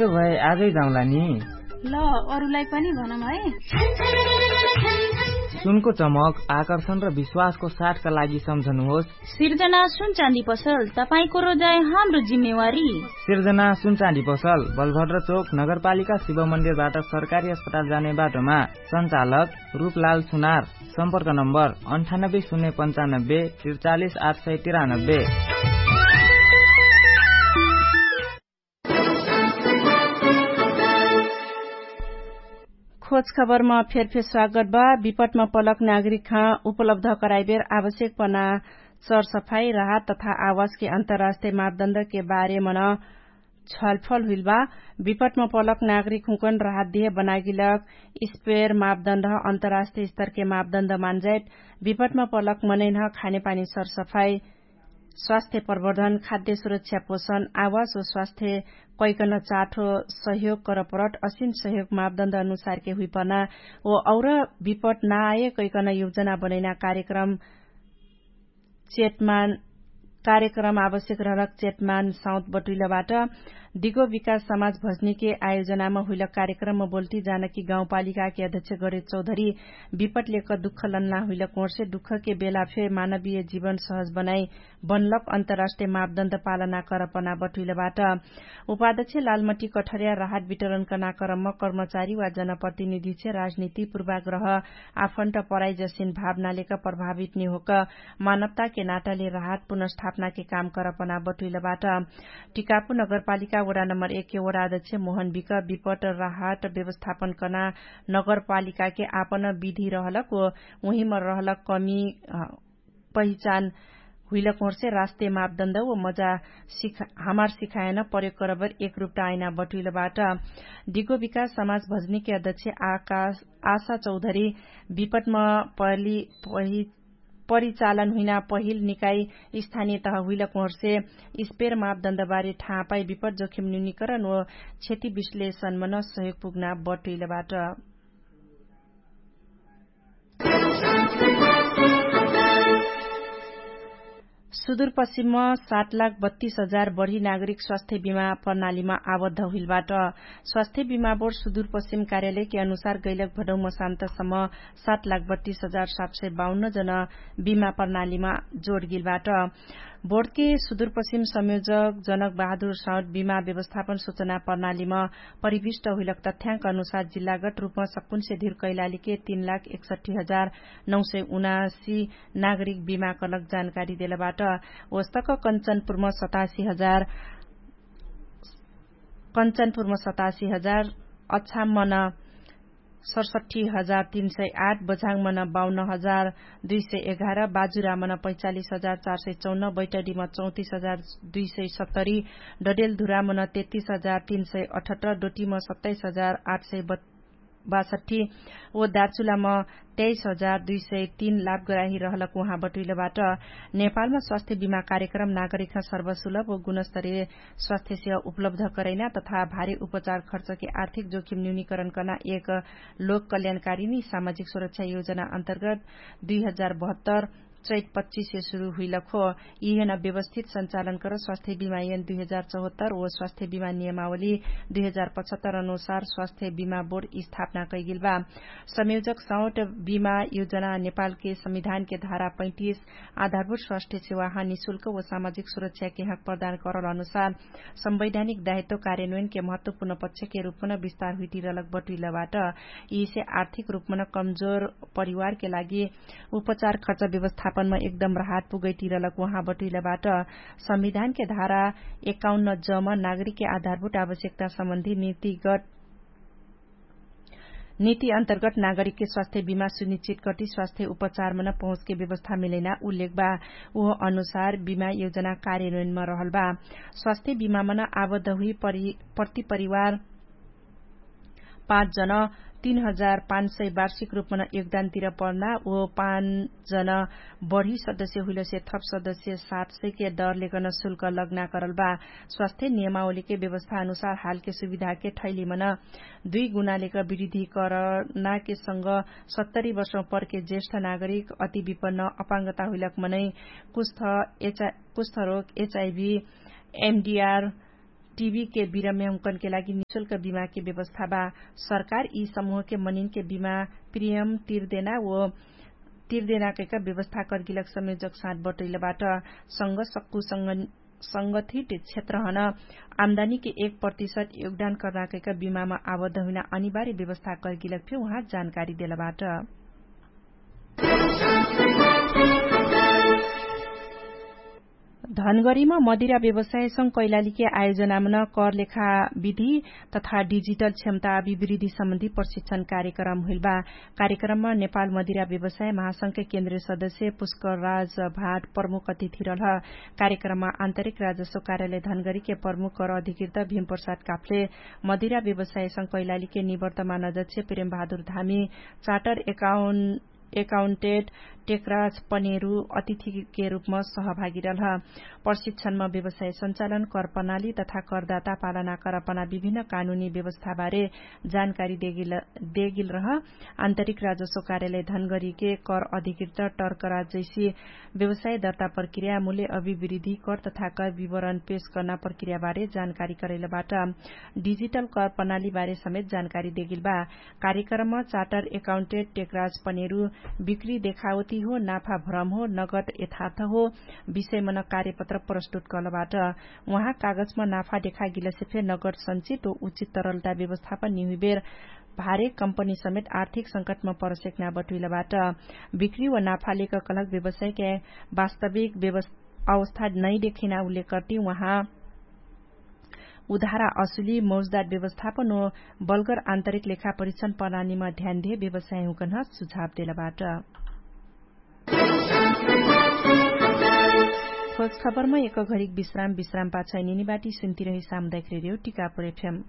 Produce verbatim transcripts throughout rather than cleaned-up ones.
भए आजै जाउँला नि। ल, अरूलाई पनि भनौँ है। सुनको चमक, आकर्षण र विश्वासको साथका लागि सम्झनुहोस्। सिर्जना सुनचाँदी पसल, तपाईंको रोजाइ हाम्रो जिम्मेवारी। सिर्जना सुनचाँदी पसल, बलभद्र चोक, नगरपालिका शिव मन्दिरबाट सरकारी अस्पताल जाने बाटोमा। सञ्चालक रूपलाल सुनार। सम्पर्क नम्बर अन्ठानब्बे शून्य पन्चानब्बे त्रिचालिस आठ सय तिरानब्बे। खोज खबरमा फेरफेर स्वागत बा। विपटमा पलक नागरिकहाँ उपलब्ध कराइबेर आवश्यक पना सरसफाई राहत तथा आवासके अन्तर्राष्ट्रिय मापदण्डके बारेमन छलफल हुइल बा। विपटमा पलक नागरिकहुँकन राहत दिहे बनागिलक स्पेर मापदण्ड अन्तर्राष्ट्रिय स्तरके मापदण्ड मान्जाइट विपटमा पलक मनैनह खानेपानी सरसफाई स्वास्थ्य प्रवर्धन खाद्य सुरक्षा पोषण आवास व स्वास्थ्य कैकन चाठो सहयोग करपरट असिन सहयोग मापदण्ड अनुसारके हुइपना व और विपट नाए कैकन योजना बनैना कार्यक्रम चेतमान कार्यक्रम आवश्यक रहलक चेतमान साउत बटुइलबाट दिगो विकास समाज भजनीके आयोजनामा हुइलक कार्यक्रममा बोल्टी जानकी गाउँपालिकाके अध्यक्ष गणेश चौधरी विपट लेक दुःख लन्ना हुइलक ओर्से दुःखके बेला फे मानवीय जीवन सहज बनाइ बनलक अन्तर्राष्ट्रिय मापदण्ड पालना करपना बटुइलबाट। उपाध्यक्ष लालमटी कठरिया राहत वितरणकना करममा कर्मचारी वा जनप्रतिनिधिछे राजनीति पूर्वाग्रह आफन्ट पराइजसिन भावनालेक प्रभावित निहोक मानवताके नाटाले राहत पुनर्स्थापनाके काम करपना बटुइलबाट। टिकापु नगरपालिका वडा नम्बर एकके वडा अध्यक्ष मोहन बिक विपट राहत व्यवस्थापनकना नगरपालिकाके आपन विधि रहलक व उहिम रहलक कमी पहिचान हुइलक होर्से राष्ट्रिय मापदण्ड व मजा हमार सिखायन प्रयोग करबर एकरुप्टा आइना बटुइलबाट। दिगो विकास समाज भजनीके अध्यक्ष आशा चौधरी विपटमा पहली पहि परिचालन हुइना पहिल निकाइ स्थानिय तह हुइलक होर्से स्पेर मापदण्डबारे ठापाइ विपट जोखिम न्युनिकरण व क्षति विश्लेषणमन सहयोग पुग्ना बटुइलबाट। सुदूरपश्चिममा सात लाख बत्तीस हजार बढी नागरिक स्वास्थ्य बिमा प्रणालीमा आबद्ध हुइलबाट। स्वास्थ्य बिमा बोर्ड सुदूरपश्चिम कार्यालयके अनुसार गैलक भदौमा सान्तसम्म सात लाख बत्तीस हजार सात सय बाउन्न जना बिमा प्रणालीमा जोडगिलबाट। बोर्डके सुदूरपश्चिम संयोजक जनक बहादुर साउद बिमा व्यवस्थापन सूचना प्रणालीमा परिविष्ट हुइलक तथ्याङ्क अनुसार जिल्लागत रूपमा सक्कुन्से धिर कैलालीके तीन लाख एकसट्ठी हजार नौ सय उनासी नागरिक बिमा कलक जानकारी देलबाट। वस्तक कञ्चनपुरमा सतासी हजार कञ्चनपुरमा सतासी हजार अछामन सडसट्ठी हजार तीन सय आठ बझाङमन बाउन्न हजार दुई सय एघार बाजुरामन पैचालिस हजार चार सय चौन्न बैटडीमा चौतिस हजार दुई सय सत्तरी डडेलधुरामन तेत्तिस हजार तीन सय अठहत्तर डोटीमा सत्ताइस हजार आठ सय बासठी ओ दार्चुलामा तेइस हजार दुई सय तीन लाभग्राही रहलक उहाँ बटुइलबाट। नेपालमा स्वास्थ्य बिमा कार्यक्रम नागरिकमा सर्वसुलभ ओ गुणस्तरीय स्वास्थ्य सेवा उपलब्ध करैना तथा भारी उपचार खर्चके आर्थिक जोखिम न्यूनीकरण कर्ना एक लोक कल्याणकारिणी सामाजिक सुरक्षा योजना अन्तर्गत दुई हजार बहत्तर चैत पच्चिसे सुरु हुइलक हो। यिहेन व्यवस्थित सञ्चालन कर स्वास्थ्य बिमा यन दुई हजार चौहत्तर ओ स्वास्थ्य बिमा नियमावली दुई हजार पचहत्तर अनुसार स्वास्थ्य बिमा बोर्ड स्थापना कैगिल बा। संयोजक सौट बिमा योजना नेपालके संविधानके धारा पैतिस आधारभूत स्वास्थ्य सेवाहा निशुल्क ओ सामाजिक सुरक्षाके हक प्रदान करल अनुसार संवैधानिक दायित्व कार्यान्वयनके महत्वपूर्ण पक्षके रूपमन विस्तार हुइटिरलक बटुइलबाट। यिसे आर्थिक रूपमन कमजोर परिवारके लागि उपचार खर्च व्यवस्थापनमा एकदम राहत पुगैटिरलक उहाँ बटुइलबाट। संविधानके धारा एकाउन्न जम नागरिकके आधारभूत आवश्यकता सम्बन्धी नीतिगत नीति अन्तर्गत नागरिकके स्वास्थ्य बिमा सुनिश्चित कति स्वास्थ्य उपचारमन पहुँचके व्यवस्था मिलैना उल्लेख बा। उह अनुसार बिमा योजना कार्यान्वयनमा रहल बा। स्वास्थ्य बिमामन आबद्ध हुइ प्रतिपरिवार पाँच जन तीन हजार पाँच सय वार्षिक रूपमन योगदान तिर पर्ना ओ पाँच जन बढी सदस्य हुइलसे थप सदस्य सात सयके दरलेकन शुल्क लग्ना करल बा। स्वास्थ्य नियमावलीके व्यवस्था अनुसार हालके सुविधाके ठैलीमन दुई गुणालेक विरुद्धीकरणाके संग सत्तरी वर्षमा पर्के ज्येष्ठ नागरिक अति विपन्न अपाङ्गता हुइलक मनै कुष्ठ एचआई कुष्ठरोग एचआइभी एमडिआर टिबीके बिरममे हुँकनके लागि निशुल्क बिमाके व्यवस्था बा। सरकार यी समूहके मनिनके बिमा प्रियम तिरदेना ओ तिरदेना कैका व्यवस्था कर्गिलक संयोजक साथ बटैलबाट। संग सक्कु संगठित क्षेत्रहन आम्दानीके एक प्रतिशत योगदान कर्ना कैका बिमामा आबद्ध हुइना अनिवार्य व्यवस्था कर्गिलक फे उहाँ जानकारी देलबाट। धनगरीमा मदिरा व्यवसायसँग कैलालीके आयोजनामन करलेखा विधि तथा डिजिटल क्षमता अभिवृद्धि सम्बन्धी प्रशिक्षण कार्यक्रम हुइलबा। कार्यक्रममा नेपाल मदिरा व्यवसाय महासंघके केन्द्रीय सदस्य पुष्कर राज भाट प्रमुख अतिथि रहल। कार्यक्रममा आन्तरिक राजस्व कार्यालय धनगरीके प्रमुख कर अधिकृत भीमप्रसाद काफले, मदिरा व्यवसायसँग कैलालीके निवर्तमान अध्यक्ष प्रेमबहादुर धामी, चार्टर एकाउन्टेट टेकराज पनेरु अतिथिके रूपमा सहभागी रहल। प्रशिक्षणमा व्यवसाय सञ्चालन कर प्रणाली तथा करदाता पालना कर अपना विभिन्न कानुनी व्यवस्थाबारे जानकारी देगिल रह। आन्तरिक राजस्व कार्यालय धनगरीके कर अधिकृत टर्कराज जैसी व्यवसाय दर्ता प्रक्रिया मूल्य अभिवृद्धि कर तथा कर विवरण पेश कर्ना प्रक्रियाबारे जानकारी करैलबाट। डिजिटल कर प्रणालीबारे समेत जानकारी देगिलबा। कार्यक्रममा चार्टर एकाउन्टेट टेकराज पनेरु बिक्री देखावती हो नाफा भ्रम हो नगद यथार्थ हो विषयमन कार्यपत्र प्रस्तुत कलबाट। उहाँ कागजमा नाफा देखागिलसे फे नगद सञ्चित हो उचित तरलता व्यवस्थापन निहुइबेर भारे कम्पनी समेत आर्थिक संकटमा परसेक्ना बटुइलबाट। बिक्री व नाफा लेक कलक व्यवसायके वास्तविक अवस्था नै देखिना उल्लेख कर्ती उहाँ उधारा असुली मौजदार व्यवस्थापन हो बल्गर आन्तरिक लेखा परिक्षण प्रणालीमा ध्यान दिए व्यवसाय हुँकन सुझाव देलबाट। खोज खबरमा एक घरिक विश्राम विश्राम पाछै निनिबाटी सुन्तिरही सामुदायिक रेडियो टिकापुर एफएम।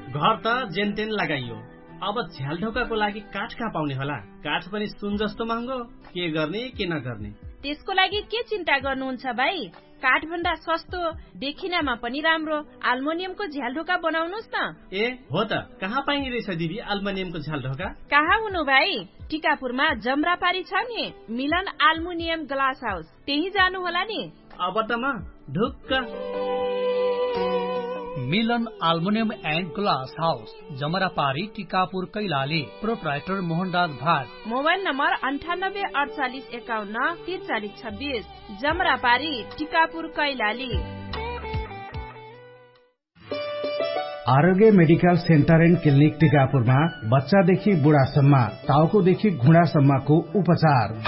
घर त जेनतेन लगाइयो, अब झ्यालढोकाको लागि काठ कहाँ पाउने होला? काठ पनि सुन जस्तो महँगो। के गर्ने के नगर्ने? त्यसको लागि के चिन्ता गर्नुहुन्छ भाइ? काठभन्दा सस्तो, देखिनामा पनि राम्रो आल्मोनियमको झ्यालढोका बनाउनुस् न। ए हो त, कहाँ पाइने रहेछ दिदी आल्मोनियमको झ्यालढोका? कहाँ हुनु भाइ? टिकापुरमा जमरापारी छ नि, मिलन आल्मुनियम ग्लास हाउस, त्यही जानु होला नि। अब त म ढुक्क। मिलन आल्मुनियम एन्ड ग्लास हाउस, जमरापारी टिकापुर कैलाली। प्रोप्राइटर मोहनराज भाग। मोबाइल नम्बर अन्ठानब्बे अठचालिस एकाउन्न तिरचालिस छब्बिस। जमरापारी टिकापुर कैलाली। आरोग्य मेडिकल सेन्टर एन्ड क्लिनिक टिकापुरमा बच्चादेखि बुढासम्म, टाउकोदेखि घुँडासम्मको उपचार।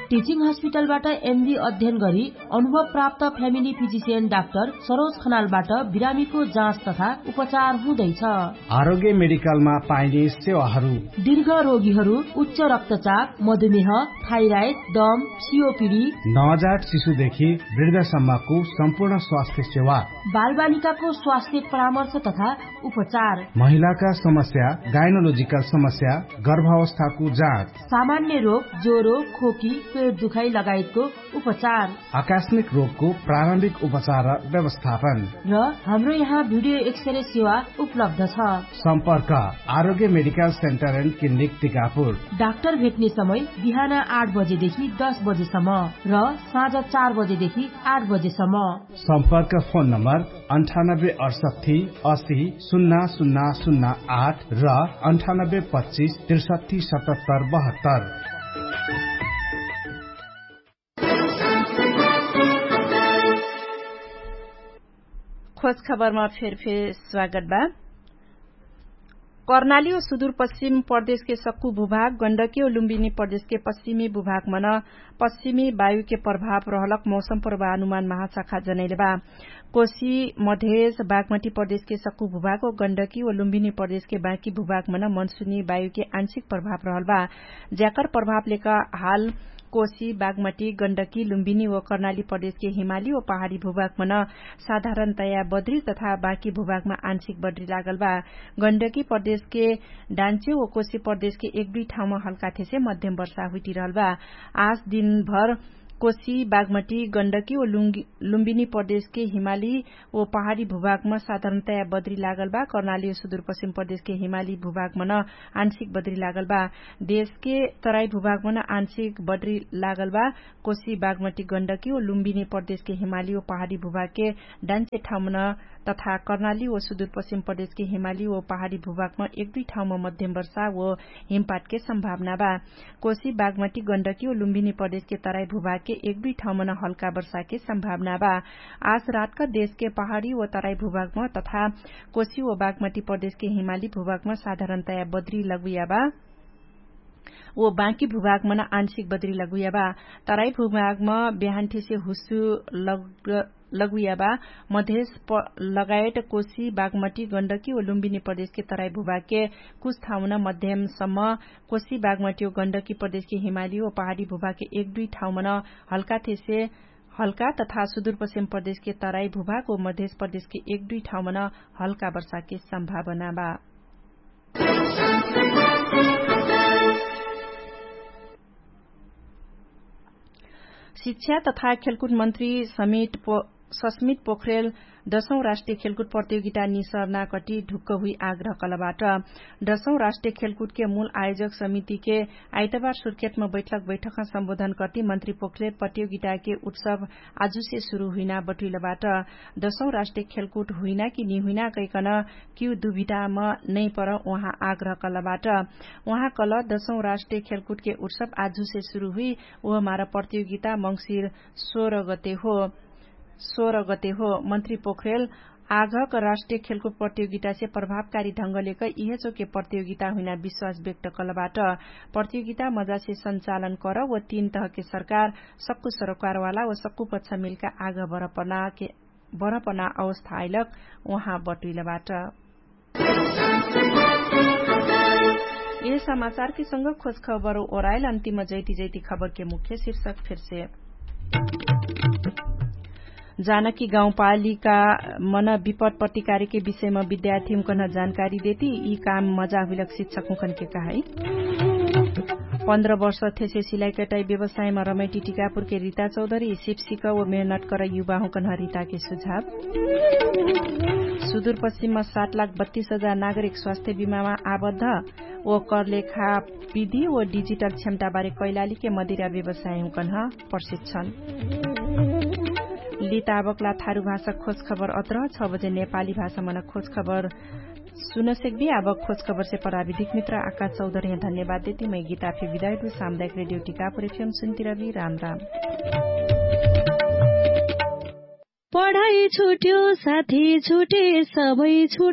टिचिङ हस्पिटलबाट एमबी अध्ययन गरी अनुभव प्राप्त फ्यामिली फिजिसियन डाक्टर सरोज खनालबाट बिरामीको जाँच तथा उपचार हुँदैछ। आरोग्य मेडिकलमा पाइने सेवाहरू। दीर्घ रोगीहरू, उच्च रक्तचाप, मधुमेह, थाइराइड, दम, सिओपिडी, नवजात शिशुदेखि वृद्धसम्मको सम्पूर्ण स्वास्थ्य सेवा। बालबालिकाको स्वास्थ्य परामर्श तथा उपचार। महिलाका समस्या, गाइनोलोजिकल समस्या, गर्भावस्थाको जाँच। सामान्य रोग, ज्वरो, खोकी, पेट दुखाइ लगायतको उपचार। आकस्मिक रोगको प्रारम्भिक उपचार र व्यवस्थापन। र हाम्रो यहाँ भिडियो एक्सरे सेवा उपलब्ध छ। सम्पर्क आरोग्य medical centre and clinic Tikapur. Doctor भेट्ने समय बिहान आठ बजेदेखि दस बजेसम्म र साँझ चार बजेदेखि आठ बजेसम्म। सम्पर्क फोन नम्बर अन्ठानब्बे अठसट्ठी असी सुन्ना सुन्ना सुन्ना आठ र अन्ठानब्बे पच्चिस त्रिसट्ठी सतहत्तर बहत्तर। खोज खबरमा फेरफेर स्वागत बा। कर्णाली ओ सुदूर पश्चिम प्रदेशके सक्कु भूभाग गण्डकी ओ लुम्बिनी प्रदेशके पश्चिमी भूभागमन पश्चिमी वायुके प्रभाव रहलक मौसम प्रभाव अनुमान महाशाखा जनैले बा। कोशी मधेश बागमटी प्रदेशके सक्कु भूभाग ओ गण्डकी ओ लुम्बिनी प्रदेशके बाँकी भूभागमन मनसुनी वायुके आंशिक प्रभाव रहल बा। ज्याकर प्रभाव लेका हाल कोशी बागमटी गण्डकी लुम्बिनी ओ कर्णाली प्रदेशके हिमाली ओ पहाडी भूभागमन साधारणतया बद्री तथा बाँकी भूभागमा आंशिक बद्री लागल बा। गण्डकी प्रदेशके डान्चे ओ कोशी प्रदेशके एक दुई ठाउँमा हल्का थेसे मध्यम वर्षा हुइटिरहल बा। आज दिनभर कोशी बागमटी गण्डकी व लुम्बिनी प्रदेशके हिमाली व पहाडी भूभागमा साधारणतया बद्री लागल बा। कर्णाली व सुदूरपश्चिम प्रदेशके हिमाली भूभागमा न आंशिक बद्री लागल बा। देशके तराई भूभागमा न आंशिक बद्री लागल बा। कोशी बागमटी गण्डकी व लुम्बिनी प्रदेशके हिमाली व पहाडी भूभागके डान्चे ठाउँमा न तथा कर्णाली व सुदूरपश्चिम प्रदेशके हिमाली व पहाडी भूभागमा एक दुई ठाउँमा मध्यम वर्षा व हिमपाटके सम्भावना बा। कोशी बागमटी गण्डकी व लुम्बिनी प्रदेशके तराई भूभागके एक दुई ठाउँमा न हल्का वर्षाके सम्भावना बा। आज रातका देशके पहाडी व तराई भूभागमा तथा कोशी व बागमटी प्रदेशके हिमाली भूभागमा साधारणतया बद्री लगुया बा। व बाँकी भूभागमा न आंशिक बद्री लगुया बा। तराई भूभागमा बिहानठेसे हुसु लग लगुया बा। मधेश लगायत कोशी बागमटी गण्डकी व लुम्बिनी प्रदेशके तराई भूभागके कुछ ठाउँमा न मध्यमसम्म कोशी बागमटी व गण्डकी प्रदेशके हिमाली व पहाडी भूभागके एक दुई ठाउँमा न हल्का थेसे हल्का तथा सुदूरपश्चिम प्रदेशके तराई भूभाग व मधेश प्रदेशके एक दुई ठाउँमा न हल्का वर्षाके सम्भावना बा। शिक्षा तथा खेलकुट मन्त्री सस्मित पोखरेल दशौं राष्ट्रिय खेलकुट प्रतियोगिता निसर्ना कटी ढुक्क हुइ आग्रह कलबाट। दशौं राष्ट्रिय खेलकुटके मूल आयोजक समितिके आइतबार सुर्खेतमा बैठक बैठकमा सम्बोधन कटी मन्त्री पोखरेल प्रतियोगिताके उत्सव आजुसे सुरु हुइना बटुइलबाट। दशौं राष्ट्रिय खेलकुट हुइना कि निहुइना कैकन किउ दुभिटामा नैपर उहाँ आग्रह कलबाट। उहाँ कल दशौं राष्ट्रिय खेलकुटके उत्सव आजुसे सुरु हुइ उहमार प्रतियोगिता मंगसिर सोह्र गते हो। सोह्र गते हो मन्त्री पोखरेल आघक राष्ट्रिय खेलकुट प्रतियोगितासे प्रभावकारी ढंगलेक इहेचोके प्रतियोगिता हुइना विश्वास व्यक्त कलबाट। प्रतियोगिता मजासे सञ्चालन कर व तीन तहके सरकार सक्कु सरोकारवाला व सक्कु पक्ष मिलका आघ बरपना अवस्था आइलक उहाँ बटुइलबाट। यह समाचारके संग खोज खबर ओराइल अन्तिम जैती जैती खबरके मुख्य शीर्षक फिरसे। जानकी गाउँपालिका मन विपद प्रतिकारीके विषयमा विद्यार्थी हुँकन जानकारी देती यी काम मजा हुइलक शिक्षक हुँकनके कहै। पन्ध्र वर्ष थेसे सिलाइकटाइ व्यवसायमा रमैटी टिकापुरके रिता चौधरी सिपसिक व मेहनत कर युवा हुँकन रिताके सुझाव। सुदूरपश्चिममा सात लाख बत्तीस हजार नागरिक स्वास्थ्य बिमामा आबद्ध व करलेखा विधि व डिजिटल क्षमताबारे कैलालीके मदिरा व्यवसाय हुँकन प्रशिक्षण। लिताबकला थारु भाषा खोज खबर अत्र छ बजे नेपाली भाषा मन खोज खबर सुनसेक भी आबक खोज खबर से पराविधिक मित्र आकाश चौधर यहाँ धन्यवाद देती मै गीता फे विदायक भी सामुदायक रेडियो टिकापुर एफएम सुन्तिरबी। राम राम। पढाइ छुट्यो साथी छुटे सबै